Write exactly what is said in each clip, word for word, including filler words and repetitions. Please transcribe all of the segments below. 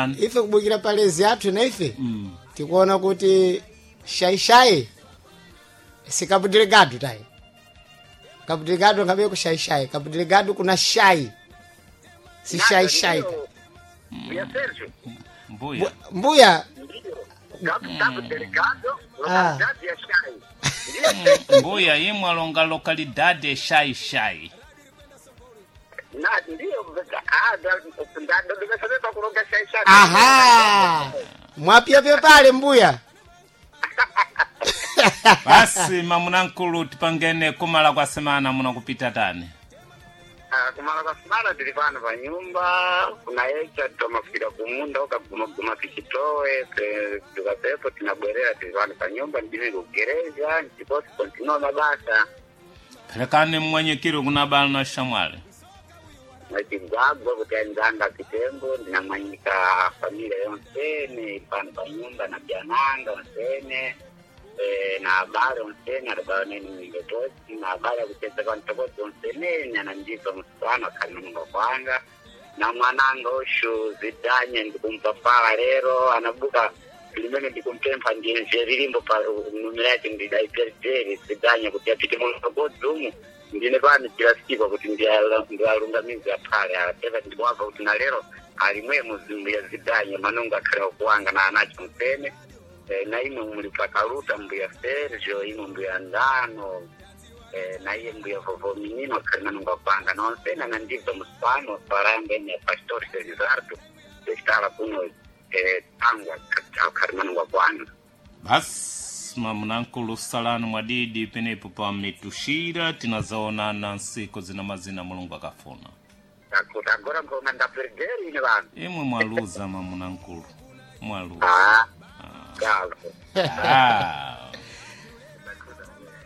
Ife kubukira palezi athu na ife Mm. tikuona kuti shaishai si Cabo Delgado tayi. Cabo Delgado ngabe ku shaishai, Cabo Delgado kuna shai, si shaishai ta. Ya Sergio. Mbuya. Mbuya. Ndiyo. Cabo Cabo Delgado, Ah. localidade ya Shai. Mbuya imwe alonga localidade shai shai. Na ndiyo, ah, ndadodobesa kulonga Shai Shai. Aha, mwapyapya pale mbuya. Basi mamunankulu, tipangene kumala kwa semana muno kupita tani. Ah, kumala kwa semana tili pano pa nyumba kunayecha tomafika kumunda ukagumaguma tichitowe tukapepo tinabwerera tili pano pa nyumba ndili kugereza ndiposi kontinua mabasa. Perekani mmwenyekiro kuna bala na shamwali. Nachigwagwa kuti anzanga kitembo ndinamwanyika familia yonsene pano pa nyumba na byananga onsene, eh, na abale onsene adabaoneni mingetosi na abale akucheza kwantokozi onsenene anandibva musana akhalinunga kwanga na mwananga ushu zidanye ndikumpapala lero anabuka limene ndikumpempha ndiye lilimbo pa numira yake ndidaiperiteri zidanye kuti apite mulokodzi umu ndine pano chilasikwa kuti ndialungamize aphale ateva ndikuwabva kuti na lero alimwe muzimbu ya zidanye manungo akhale okuwanga na anacho mpene. Eh, na imwe muli pakaluta mbuya Sergio, imwe mbuya Ndano, eh, na iye mbuya Vovominino akhali manungo akwanga nonsena nandibva musipano paranga ene Pastor Felizardo ndechitala kuno, eh, tangwa akhali manungo akwanga. Basi mamunankulu, salani mwadidi penepo pa mitushira tinazaonana nsiku zina mazina Mulungu akafuna. Akuti agora ngoma ndaperderi ine vanhu. Imwe mwaluza mamunankulu, mwaluza. Ah, gavo. Ah.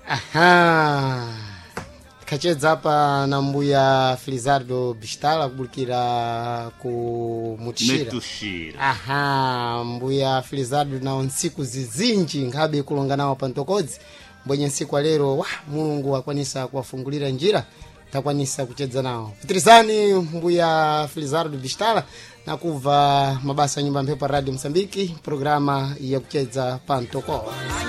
Aha, tikachedza apa na mbuya Felizardo Bistala kubukira ku Mutishira. Mitushira. Aha, mbuya Felizardo nawo ntsiku zizinji nkhabe kulonga nawo pa ntokodzi mbwenye ntsiku alero wa Mulungu akwanisa kuwafungulira njira takwanisa kuchedza nawo. Pitirizani mbuya Felizardo Bistala na kubva mabasa ya nyumba ya mphepo pa Radio Msambiki, programa ya kuchedza pa ntoko.